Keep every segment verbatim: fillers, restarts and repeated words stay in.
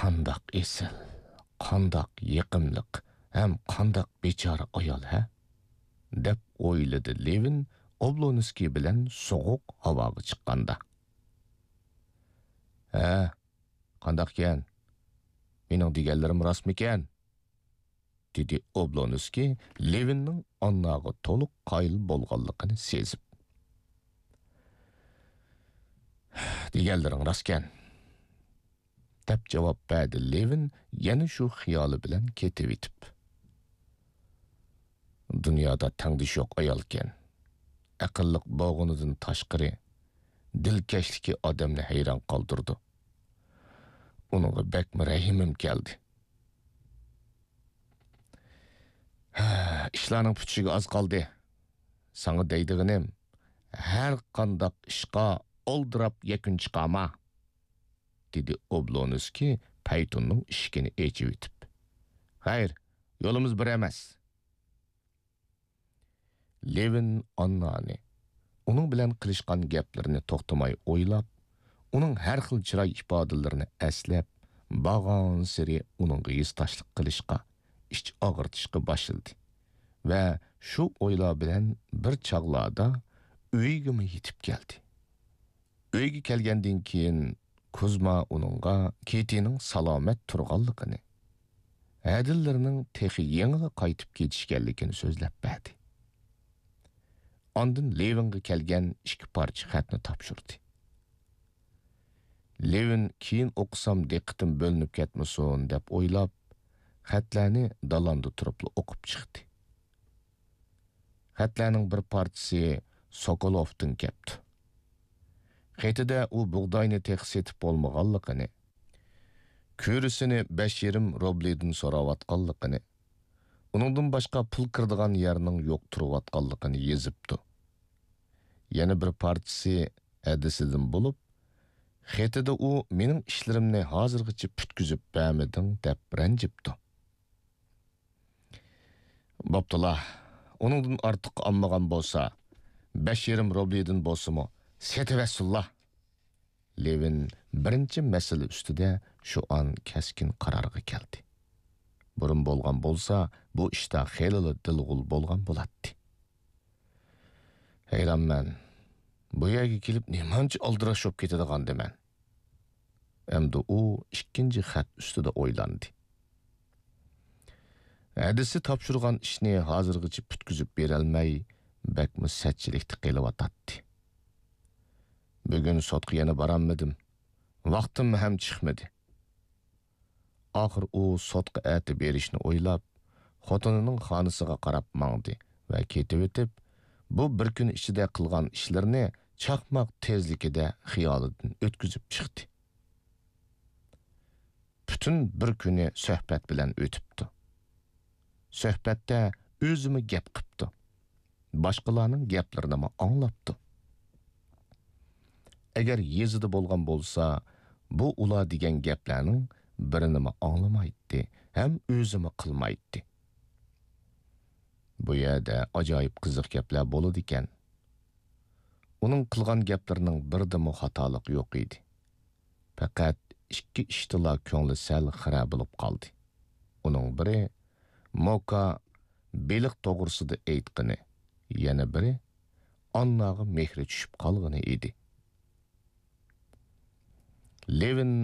قانداق ئېسىل، قانداق يېقىملىق ھەم قانداق بىچارە ئايال، ھە؟ دەپ ئويلىدى لېۋىن ئوبلونسكىي بىلەن سوغۇق ھاۋاغا چىققاندا. ھە، قانداقكەن؟ مېنىڭ دېگەنلىرىم راستمىكەن؟ دېدى ئوبلونسكىي لېۋىننىڭ ئانناغا تولۇق قايىل بولغانلىقىنى سېزىپ. دېگەنلىرىڭ راستكەن، دەپ جاۋاب بەردى لېۋىن يەنە شۇ خىيالى بىلەن كېتىۋېتىپ. دۇنيادا تەڭدىشى يوق ئايالكەن. ئەقىللىق بولغىنىدىن تاشقىرى، دىلكەشلىكى ئادەمنى ھەيران قالدۇرىدۇ. ئۇنىڭغا بەكمۇ رەھىمىم كەلدى. ھە، ئىشلارنىڭ پۈتۈشىگە ئاز قالدى. ساڭا دەيدىغىنىم، ھەر قانداق ئىشقا ئالدىراپ يەكۈن چىقارما، دېدى ئوبلونسكىي پەيتۇننىڭ ئىشىكىنى ئېچىۋېتىپ. خەير، يولىمىز بىر ئەمەس. لېۋىن ئاننانى، ئۇنىڭ بىلەن قىلىشقان گەپلىرىنى توختىماي ئويلاپ، ئۇنىڭ ھەر خىل چىراي ئىپادىلىرىنى ئەسلەپ، بارغانسېرى ئۇنىڭغا ھېسداشلىق قىلىشقا، ئىچ ئاغرىتىشقا باشلىدى ۋە شۇ ئويلار بىلەن بىر چاغلاردا ئۆيىگىمۇ يېتىپ كەلدى. ئۆيگە كەلگەندىن كېيىن، كۇزما ئۇنىڭغا كېتىنىڭ سالامەت تۇرغانلىقىنى، ھەدىلىرىنىڭ تېخى يېڭىلا قايتىپ كېتىشكەنلىكىنى سۆزلەپ بەردى. ئاندىن لېۋىنغا كەلگەن ئىككى پارچە خەتنى تاپشۇردى. لېۋىن كېيىن ئوقۇسام دىققىتىم بۆلۈنۈپ كەتمىسۇن دەپ ئويلاپ، خەتلەرنى دالاندا تۇرۇپلا ئوقۇپ چىقتى. خەتلەرنىڭ بىر پارچىسى سوكولوۋتىن كەپتۇ. خېتىدە ئۇ بۇغداينى تېخى سېتىپ بولمىغانلىقىنى، كۈرىسىنى بەش يېرىم روبلىدىن سوراۋاتقانلىقىنى، ئۇنىڭدىن باشقا پۇل كىرىدىغان يەرنىڭ يوق تۇرۇۋاتقانلىقىنى يېزىپتۇ. يەنە بىر پارچىسى ھەدىسىدىن بولۇپ، خېتىدە ئۇ مېنىڭ ئىشلىرىمنى ھازىرغىچە پۈتكۈزۈپ بەرمىدىڭ دەپ رەنجىپتۇ. بوپتۇلا، ئۇنىڭدىن ئارتۇق ئالمىغان بولسا، بەش يېرىم روبلىدىن بولسىمۇ سېتىۋەتسۇنلا. لېۋىن بىرىنچى مەسىلە ئۈستىدە شۇ ئان كەسكىن قارارغا كەلدى. بۇرۇن بولغان بولسا، بۇ ئىشتا خېلىلا دىلغۇل بولغان بولاتتى. ھەيرانمەن، بۇ يەرگە كېلىپ نېمانچە ئالدىراش بولۇپ كېتىدىغاندىمەن؟ ئەمدى ئۇ ئىككىنچى خەت ئۈستىدە ئويلاندى. ھەدىسى تاپشۇرغان ئىشنى ھازىرغىچە پۈتكۈزۈپ بېرەلمەي، بەكمۇ سەتچىلىكتە قېلىۋاتاتتى. بۈگۈن سوتقا يەنە بارالمىدىم. ۋاقتىم ھەم چىقمىدى. ئاخىر ئۇ سوتقا ئەتە بېرىشنى ئويلاپ، خوتۇنىنىڭ خانىسىغا قاراپ ماڭدى ۋە كېتىۋېتىپ، بۇ بىر كۈن ئىچىدە قىلغان ئىشلىرىنى چاقماق تېزلىكىدە خىيالىدىن ئۆتكۈزۈپ چىقتى. پۈتۈن بىر كۈنى سۆھبەت بىلەن ئۆتۈپتۇ. سۆھبەتتە ئۆزىمۇ گەپ قىپتۇ. باشقىلارنىڭ گەپلىرىنىمۇ ئاڭلاپتۇ. ئەگەر يېزىدا بولغان بولسا، بۇ ئۇلار دېگەن گەپلەرنىڭ بىرىنىمۇ ئاڭلىمايتتى ھەم ئۆزىمۇ قىلمايتتى. بۇ يەردە ئاجايىپ قىزىق گەپلەر بولىدىكەن. ئۇنىڭ قىلغان گەپلىرىنىڭ بىرىدىمۇ خاتالىق يوق ئىدى. پەقەت ئىككى ئىشتىلا كۆڭلى سەل خىرە بولۇپ قالدى. ئۇنىڭ بىرى موكا بېلىق توغرىسىدا ئېيتقىنى، يەنە بىرى ئانناغا مېھرى چۈشۈپ قالغىنى ئىدى. لېۋىن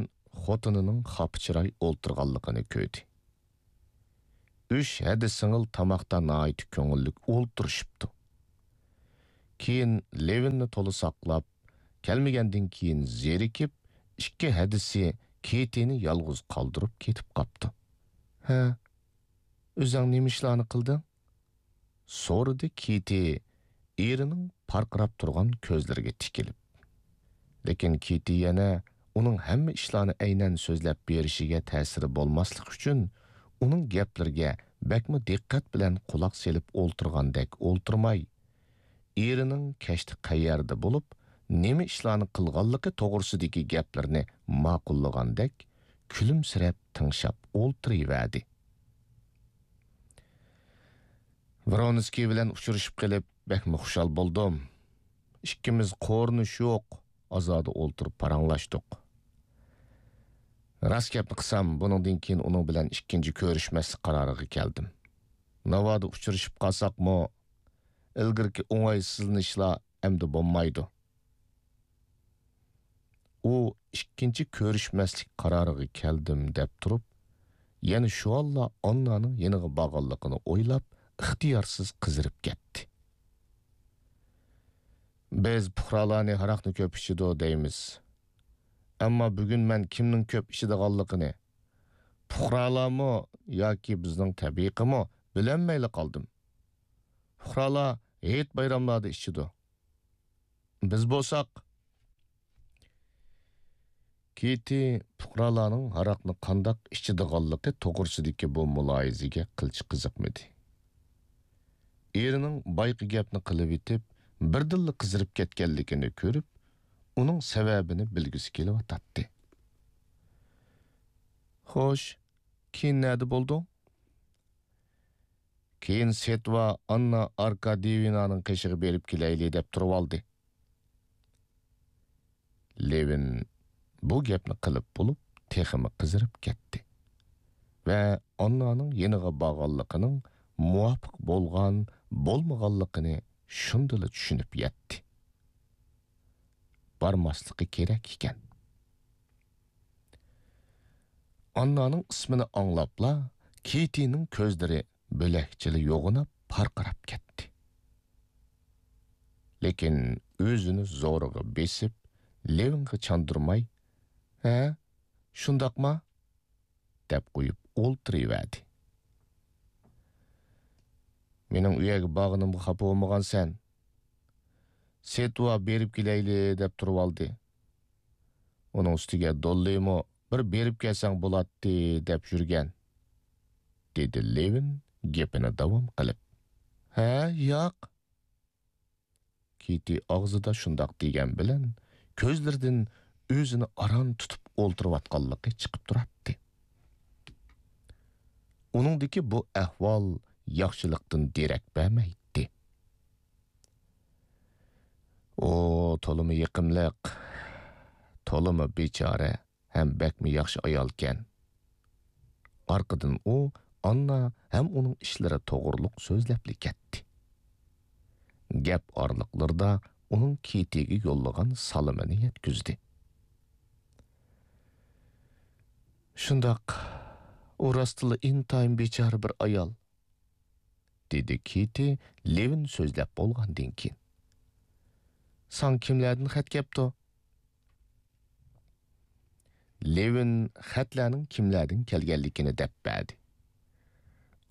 خوتۇنىنىڭ خاپا چىراي ئولتۇرغانلىقىنى كۆردى. ئۈچ ھەدە سىڭىل تاماقتا ناھايىتى كۆڭۈللۈك ئولتۇرۇشۇپتۇ. كېيىن لېۋىننى تولا ساقلاپ، كەلمىگەندىن كېيىن زېرىكىپ، ئىككى ھەدىسى كېتىنى يالغۇز قالدۇرۇپ كېتىپ قاپتۇ. ھە، ئۆزۈڭ نېمە ئىشلارنى قىلدىڭ؟ سورىدى كېتى ئېرىنىڭ پارقىراپ تۇرغان كۆزلىرىگە تىكىلىپ. لېكىن كېتى يەنە ئۇنىڭ ھەممە ئىشلارنى ئەينەن سۆزلەپ بېرىشىگە تەسىرى بولماسلىق ئۈچۈن، ئۇنىڭ گەپلىرىگە بەكمۇ دىققەت بىلەن قۇلاق سېلىپ ئولتۇرغاندەك ئولتۇرماي، ئېرىنىڭ كەچتە قەيەردە بولۇپ، نېمە ئىشلارنى قىلغانلىقى توغرىسىدىكى گەپلىرىنى ماقۇللىغاندەك كۈلۈمسىرەپ تىڭشاپ ئولتۇرۇۋەردى. ۋرونسكىي بىلەن ئۇچرىشىپ قېلىپ بەكمۇ خۇشال بولدۇم. ئىككىمىز قورۇنۇش يوق، ئازادە ئولتۇرۇپ پاراڭلاشتۇق. راست گەپنى قىلسام، بۇنىڭدىن كېيىن ئۇنىڭ بىلەن ئىككىنچى كۆرۈشمەسلىك قارارىغا كەلدىم. ناۋادا ئۇچرىشىپ قالساقمۇ، ئىلگىرىكى ئوڭايسىزلىنىشلار ئەمدى بولمايدۇ. ئۇ ئىككىنچى كۆرۈشمەسلىك قارارىغا كەلدىم دەپ تۇرۇپ، يەنە شۇ ھالدا ئاننانىڭ يېنىغا بارغانلىقىنى ئويلاپ، ئىختىيارسىز قىزىرىپ كەتتى. بىز پۇقرالارنى ھاراقنى كۆپ ئىچىدۇ دەيمىز. ئەمما بۈگۈن مەن كىمنىڭ كۆپ ئىچىدىغانلىقىنى، پۇقرالارمۇ ياكى بىزنىڭ تەبىقىمۇ بىلەلمەيلا قالدىم. پۇقرالار ھېيت بايراملاردا ئىچىدۇ. بىز بولساق. كېتى پۇقرالارنىڭ ھاراقنى قانداق ئىچىدىغانلىقى توغرىسىدىكى بۇ مۇلاھىزىگە قىلچە قىزىقمىدى. ئېرىنىڭ بايىقى گەپنى قىلىۋېتىپ، بىردىنلا قىزىرىپ كەتكەنلىكىنى كۆرۈپ، ئۇنىڭ سەۋەبىنى بىلگۈسى كېلىۋاتاتتى. خوش، كېيىن نەدە بولدۇڭ؟ كېيىن سېتۋا ئاننا ئاركادىيېۋنانىڭ قېشىغا بېرىپ كېلەيلى دەپ تۇرۇۋالدى. لېۋىن بۇ گەپنى قىلىپ بولۇپ، تېخىمۇ قىزىرىپ كەتتى ۋە ئاننانىڭ يېنىغا بارغانلىقىنىڭ مۇۋاپىق بولغان، بولمىغانلىقىنى شۇندىلا چۈشىنىپ يەتتى. بارماسلىقى كېرەك ئىكەن. ئاننانىڭ ئىسمىنى ئاڭلاپلا، كېتىنىڭ كۆزلىرى بۆلەكچىلا يوغىناپ پارقىراپ كەتتى. لېكىن ئۆزىنى زورىغا بېسىپ، لېۋىنغا چاندۇرماي، ھە، شۇنداقما؟ دەپ قويۇپ ئولتۇرۇۋەردى. مېنىڭ ئۇ يەرگە بارغىنىمغا خاپا بولمىغانسەن؟ سېتۋا بېرىپ كېلەيلى دەپ تۇرۇۋالدى. ئۇنىڭ ئۈستىگە دوللىمۇ بىر بېرىپ كەلسەڭ بولاتتى دەپ يۈرگەن، دېدى لېۋىن گېپىنى داۋام قىلىپ. ھە، ياق. كېتى ئاغزىدا شۇنداق دېگەن بىلەن، كۆزلىرىدىن ئۆزىنى ئاران تۇتۇپ ئولتۇرۇۋاتقانلىقى چىقىپ تۇراتتى. ئۇنىڭدىكى بۇ ئەھۋال ياخشىلىقتىن دېرەك بەرمەيتتى. ئۇ تولىمۇ يېقىملىق، تولىمۇ بىچارە ھەم بەكمۇ ياخشى ئايالكەن. ئارقىدىن ئۇ ئاننا ھەم ئۇنىڭ ئىشلىرى توغرۇلۇق سۆزلەپلا كەتتى. گەپ ئارىلىقلىرىدا ئۇنىڭ كېتىگە يوللىغان سالىمىنى يەتكۈزدى. شۇنداق، ئۇ راستلا ئىنتايىن بىچارە بىر ئايال، دېدى كېتى لېۋىن سۆزلەپ بولغاندىن كېيىن. ساڭا كىملەردىن خەت كەپتۇ؟ لېۋىن خەتلەرنىڭ كىملەردىن كەلگەنلىكىنى دەپ بەردى.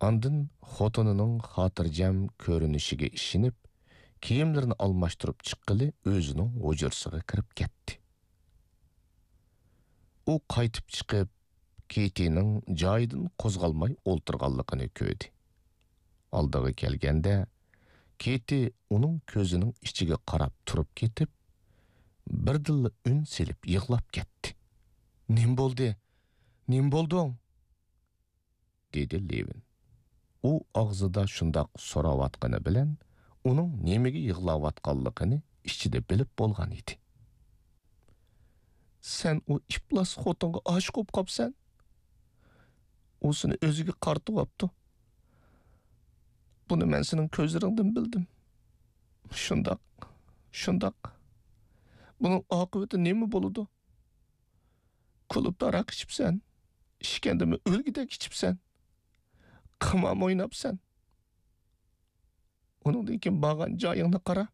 ئاندىن خوتۇنىنىڭ خاتىرجەم كۆرۈنۈشىگە ئىشىنىپ، كىيىملىرىنى ئالماشتۇرۇپ چىققىلى ئۆزىنىڭ ھۇجرىسىغا كىرىپ كەتتى. ئۇ قايتىپ چىقىپ، كېتىنىڭ جايىدىن قوزغالماي ئولتۇرغانلىقىنى كۆردى. ئالدىغا كەلگەندە، كېتى ئۇنىڭ كۆزىنىڭ ئىچىگە قاراپ تۇرۇپ كېتىپ، بىردىنلا ئۈن سېلىپ يىغلاپ كەتتى. نېمە بولدى؟ نېمە بولدۇڭ؟ دېدى لېۋىن. ئۇ ئاغزىدا شۇنداق سوراۋاتقىنى بىلەن، ئۇنىڭ نېمىگە يىغلاۋاتقانلىقىنى ئىچىدە بىلىپ بولغان ئىدى. سەن ئۇ ئىپلاس خوتۇنغا ئاشىق بولۇپ قاپسەن. ئۇ سېنى ئۆزىگە قارىتىۋاپتۇ. بۇنى مەن سېنىڭ كۆزلىرىڭدىن بىلدىم. شۇنداق، شۇنداق. بۇنىڭ ئاقىۋىتى نېمە بولىدۇ؟ كۇلۇبتا ھاراق ئىچىپسەن، ئىچكەندىمۇ ئۆلگۈدەك ئىچىپسەن، قىمارمۇ ئويناپسەن. ئۇنىڭدىن كېيىن بارغان جايىڭنى قارا،